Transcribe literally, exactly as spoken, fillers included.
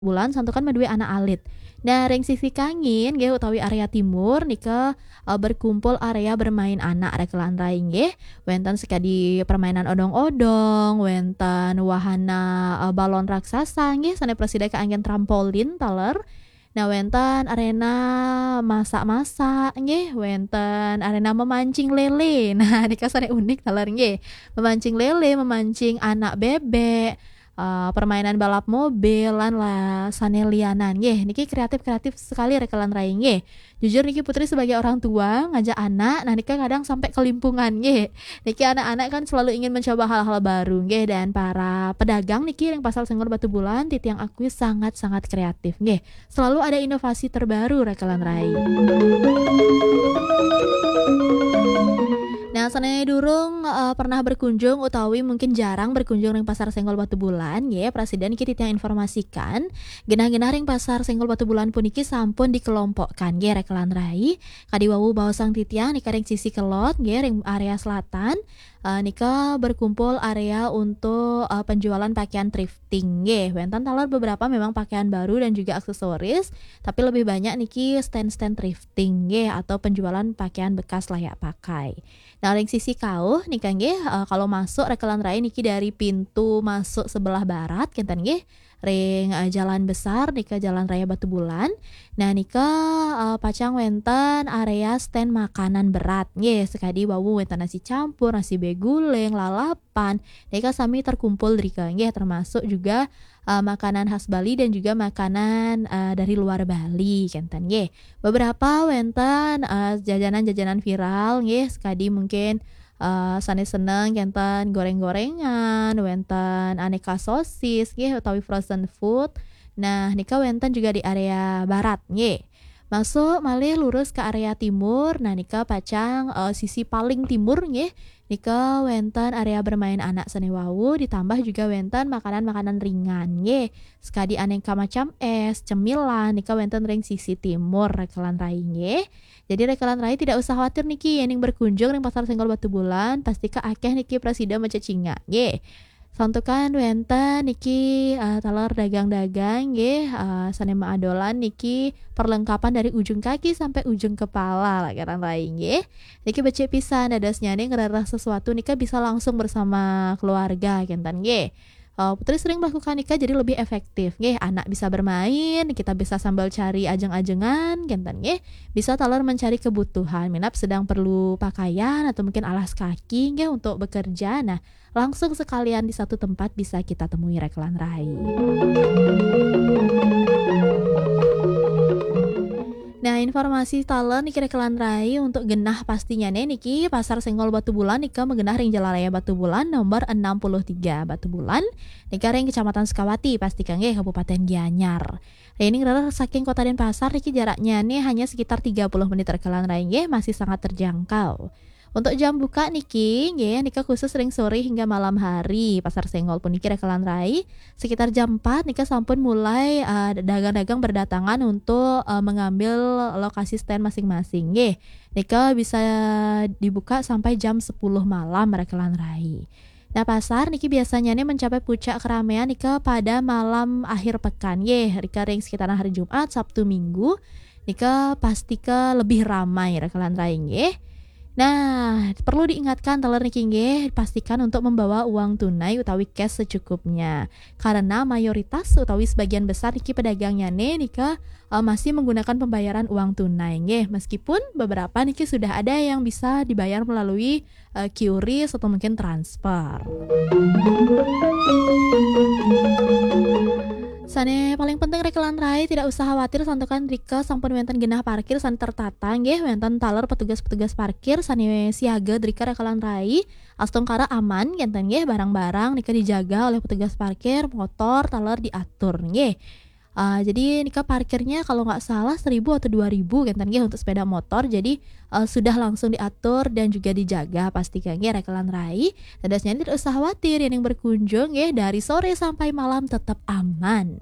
Bulan santukan madué anak alit. Nah, ring sisi kangin nggih utawi area timur nika, eh, berkumpul area bermain anak rekelan rai nggih. Wénten sekadi permainan odong-odong, wénten wahana, eh, balon raksasa nggih, sané prasida kaanggén trampolin taler. Nah, wénten arena masak-masak nggih, wénten arena memancing lele. Nah, nika sané unik taler nggih. Memancing lele, memancing anak bebek, eh, permainan balap mobil, lan la sané lianan nggih. Niki kreatif-kreatif sekali rekelan rai nggih. Jujur niki Putri sebagai orang tua ngajak anak, nah nika kadang sampai kelimpungan nggih. Niki anak-anak kan selalu ingin mencoba hal-hal baru nggih, dan para pedagang niki ring Pasar Senggol Batubulan titiang akui sangat-sangat kreatif nggih. Selalu ada inovasi terbaru rekelan rai. Nah, sané durung, eh, pernah berkunjung utawi mungkin jarang berkunjung ring Pasar Senggol Batubulan nggih, prasida niki titiang informasikan, genah-genah ring Pasar Senggol Batubulan puniki sampun dikelompokkan nggih rekelan rai. Kadi wau baosang titiang nika ring sisi kelod nggih, ring area selatan, eh, nika berkumpul area untuk, eh, penjualan pakaian thrifting nggih. Wénten taler beberapa memang pakaian baru dan juga aksesoris, tapi lebih banyak niki stand-stand thrifting nggih atau penjualan pakaian bekas layak pakai. Nah, ring sisi kauh nika nggih, eh, kalau masuk rekelan rai niki dari pintu masuk sebelah barat kenten nggih, ring, eh, jalan besar nika Jalan Raya Batubulan. Nah, nika, eh, pacang wénten area stand makanan berat nggih, sekadi wau wénten nasi campur, nasi beguling, lalapan. Nika sami terkumpul drika nggih, termasuk juga, eh, makanan khas Bali dan juga makanan, eh, dari luar Bali kenten nggih. Beberapa wénten, eh, jajanan-jajanan viral nggih, sekadi mungkin, eh, sané seneng kenten goreng-gorengan, wénten aneka sosis nggih utawi frozen food. Nah, nika wénten juga di area barat nggih. Masuk malih lurus ke area timur, nah nika pacang, eh, sisi paling timur nggih. Nika wénten area bermain anak sané wau, ditambah juga wénten makanan-makanan ringan nggih. Sekadi aneka macam es, cemilan, nika wénten ring sisi timur rekelan rai nggih. Jadi rekelan rai tidak usah khawatir niki, yéning berkunjung ring Pasar Senggol Batubulan, pastika akéh niki prasida macecingak nggih. Santukan wénten niki, eh, taler dagang-dagang nggih, eh, sané maadolan niki perlengkapan dari ujung kaki sampai ujung kepala rekelan rai nggih. Niki becik pisan, dadosnyané ngrereh sesuatu nika bisa langsung bersama keluarga kenten nggih. Eh, Putri sering melakukan nika jadi lebih efektif nggih. Anak bisa bermain, kita bisa sambil cari ajeng-ajengan kenten nggih. Bisa taler mencari kebutuhan, minab sedang perlu pakaian atau mungkin alas kaki nggih untuk bekerja. Nah, langsung sekalian di satu tempat bisa kita temui rekelan rai. Nah, informasi taler niki rekelan rai untuk genah pastinyané niki Pasar Senggol Batubulan nika magenah ring Jalan Raya Batubulan nomor enam puluh tiga Batubulan, nika ring Kecamatan Sukawati, pastika nggih Kabupaten Gianyar. Yéning rereh saking Kota Denpasar niki jaraknyané hanya sekitar tiga puluh menit rekelan rai nggih, masih sangat terjangkau. Untuk jam buka niki, nggih, nika khusus ring sore hingga malam hari. Pasar Senggol puniki rekelan rai, sekitar jam empat nika sampun mulai, eh, dagang-dagang berdatangan untuk, eh, mengambil lokasi stand masing-masing, nggih. Nika bisa dibuka sampai jam sepuluh malam rekelan rai. Nah, pasar niki biasanya nih mencapai puncak keramaian nika pada malam akhir pekan, nggih. Nika ring sekitaran hari Jumat, Sabtu, Minggu, nika pastika lebih ramai rekelan rai, nggih. Nah, perlu diingatkan taler niki nggih, pastikan untuk membawa uang tunai utawi cash secukupnya. Karena mayoritas utawi sebagian besar niki pedagangnya nih nika, eh, masih menggunakan pembayaran uang tunai nggih. Meskipun beberapa niki sudah ada yang bisa dibayar melalui, eh, QRIS atau mungkin transfer. Sané paling penting rekelan rai tidak usah khawatir santukan rika sampun wénten genah parkir sané tertata nggih, wénten taler petugas-petugas parkir sané siaga drika rekelan rai, astungkara aman kénten nggih, barang-barang nika dijaga oleh petugas parkir, motor taler diatur nggih. Ah, jadi nika parkirnya kalau nggak salah seribu atau dua ribu kénten nggih untuk sepeda motor. Jadi, eh, sudah langsung diatur dan juga dijaga pastika nggih rekelan rai. Dadosnya tidak usah khawatir, yang berkunjung nggih dari sore sampai malam tetap aman.